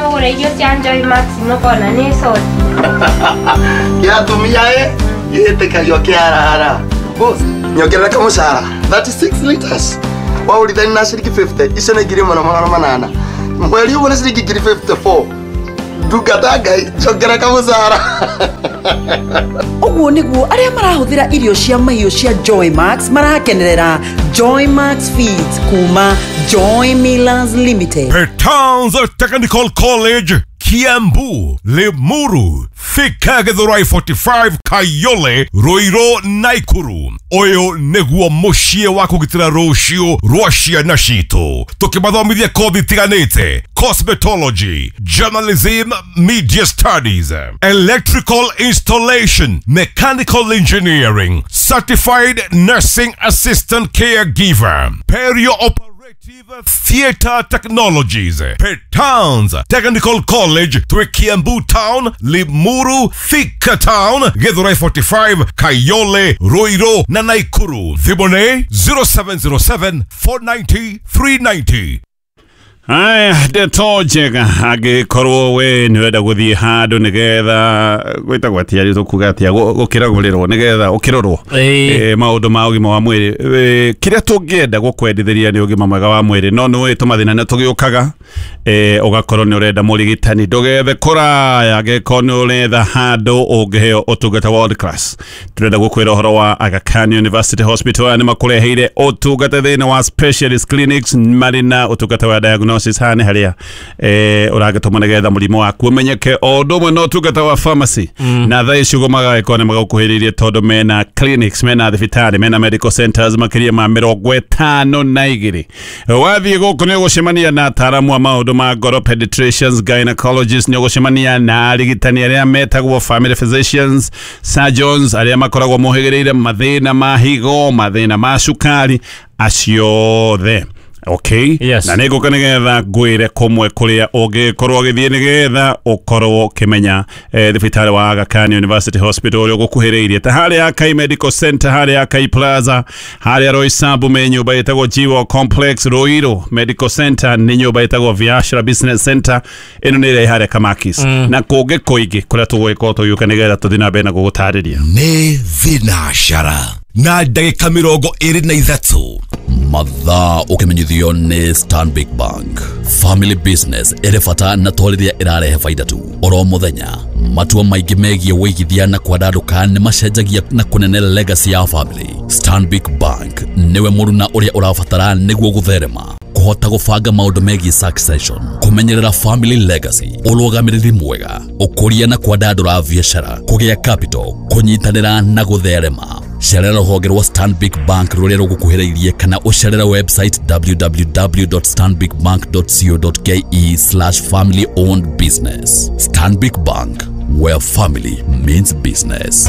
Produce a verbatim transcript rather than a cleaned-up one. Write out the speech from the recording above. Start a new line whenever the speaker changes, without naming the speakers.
Mũgũre irio cia Joy Max mũkona nĩ soti.
Kĩa atumia ĩ gĩtĩkagio kĩarara. Boss, nyongerera kamũcara thirty-six liters. Waũrithani na ciringi fifty, icio nĩ ngiri ĩmwe na magana manana. Mweri ũmwe nĩ ciringi ngiri fifty-four. Ndungata Ngai, njongerera kamũcara.
Ũguo nĩguo arĩa marahũthĩra irio cia mahiũ cia Joy Max marakenerera Joy Max Feeds kuma Joy Millers Limited.
Petans Technical College, Kiambu, Limuru, Thika, Githurai forty-five, Kayole, Ruiru, Naikuru. Ũyũ nĩguo mũciĩ wa kũgitĩra rũciũ rwa ciana citũ, tũkĩmathomithia kothi itiganĩte: cosmetology, journalism, media studies, electrical installation, mechanical engineering, certified nursing assistant, caregiver, perio theater technologies. Petans Technical College, twĩ Kiambu Town, Limuru, Thika Town, Githurai forty-five, Kayole, Ruiru na Naikuru. Thimũ nĩ zero seven zero seven four ninety three ninety.
Aya, ndeto njega angĩkorwo we nĩ ũrenda gũthiĩ handũ nĩgetha gwĩtagwo atĩa rĩ, tũkuga atĩa, gũkĩragũrĩrwo nĩgetha ũkĩrorwo eh, maũndũ ma ũgima wa mwĩrĩ. Eh, kĩrĩa tũngĩenda gũkwendithĩria nĩ ũgima mwega wa mwĩrĩ, no nĩ ũĩ tũmathĩna nĩ tũgĩũkaga, eh, ũgakorwo nĩ ũrenda mũrigitani, ndũgethe kũraya angĩkorwo nĩ ũretha handũ ũngĩheo ũtungata world class. Tũrenda gũkwĩra ũhoro wa Aga Khan University Hospital. Aya nĩ makũreheire ũtungata thĩinĩ wa specialist clinics marĩ na ũtungata wa diagnosis haha nĩ harĩa eh, ũragĩtũma nĩgetha mũrimũ waku ũmenyeke, o ũndũ ũmwe na ũtungata wa pharmacy mm. Na thaa ici ũguo magagĩkorwo nĩ magũkuhĩrĩirie tondũ mena clinics, mena thibitarĩ, mena medical centers makĩria ma mĩrongo ĩtano na igĩrĩ. Wathiĩ gũkũ nĩ ũgũcemania na ataaramu a maũndũ ma ngoro, pediatricians, gynecologists, nĩ ũgũcemania na arigitani arĩa metagwo family physicians, surgeons arĩa makoragwo mohĩgĩrĩire mathĩna ma higo, mathĩna ma cukari, acio othe. Okay.
Yes.
Na nĩ ngũka nĩgetha ngwĩre kũmwe kũrĩa ũngĩkorwo ũgĩthiĩ nĩgetha ũkorwo ũkĩmenya eh, thibitarĩ wa Aga Khan University Hospital ũrĩa ũgũkuhĩrĩirie, ta harĩa Akai Medical Center, harĩa Akai Plaza, harĩa Roysambu me nyũmba ĩtagwo Jiwo Complex, Ruiru Medical Center nĩ nyũmba ĩtagwo Biashara Business Center, ĩno nĩ ĩrĩa ĩ harĩa Kamakis, mm. Na kũngĩ kũingĩ kũrĩa tũgũgĩkorwo tũgĩũka nĩgetha tũthiĩ na mbere na gũgũtarĩria.
Nĩ thinacara na ndagĩka mĩrongo ĩrĩ na ithatũ.
Mathaa ũkĩmenyithio nĩ Stanbic Bank. Family business ĩrĩ bata na to rĩrĩa ĩrarehe baida tu. Oro mũthenya matua maingĩ megiĩ wĩigithia na kwandandũka nĩ macenjagia na kũnene legacy ya family. Stanbic Bank nĩwe mũruna ũrĩa ũrabatara nĩguo gũtherema, kũhota gũbanga maũndũ megiĩ succession, kũmenyerera family legacy, ũrũgamĩrĩri mwega, ũkũria na kwandandũra biacara, kũgĩa capital, kũnyitanĩra na gũtherema. Cerera rũhonge rwa Stanbic Bank rũrĩa rũgũkuhĩrĩirie kana ũcerere website w w w dot stanbic bank dot co dot k e slash family owned business. Stanbic Bank, where family means business.